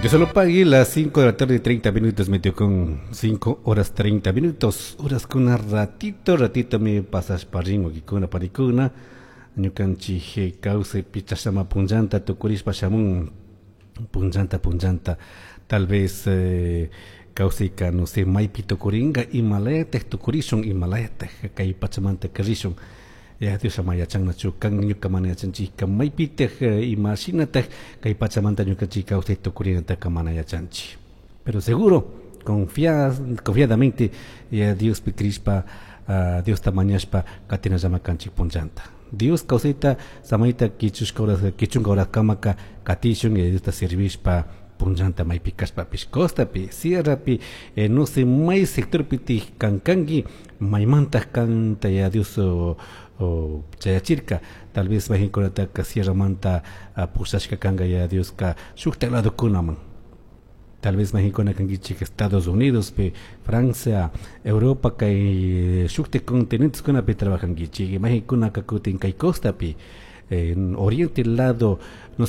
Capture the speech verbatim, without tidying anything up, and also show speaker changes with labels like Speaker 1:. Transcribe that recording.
Speaker 1: Yo solo pagué las cinco de la tarde y treinta minutos, metió con cinco horas treinta minutos. Horas con un ratito, ratito me pasas parringo kikuna parikuna. Ñukanchik kawsaypi chashama punllanta tukurishpa shamun punllanta punllanta tal vez eh, kawsayka, no sé, maypi tukuringa, imalayataj tukurishun, imalayataj kay pachamanta karishun. Ya Dios ama yachannachu kan, ñuka mana yachanchikka maypitaj, imashinataj kay pachamanta ñukanchik kawsay tukurinataka mana yachanchik. Pero seguro, confia, confiadamente ya Diospi crishpa, uh, Diosta mañashpa katinallama kanchik punllanta. Dios kawsayta samayta kichushka horas, kichunka horas kamaka katishun y Diosta servishpa punllanta maypi kashpapish, costapi, sierrapi, eh, no sé, may sectorpi kankanki, maymantaq kanta ya Dios o, o chayachirka. Tal vez mayqinkunataka sierramanta uh, pushashka kanka ya Dioska shukta ladokunaman. Tal vez mayqinkuna kankichik Estados Unidos pi, Francia, Europa, kay shukta continenteskunapi trabajankichik, mayqinkunaka kutin kay costapi, en oriente lado, no.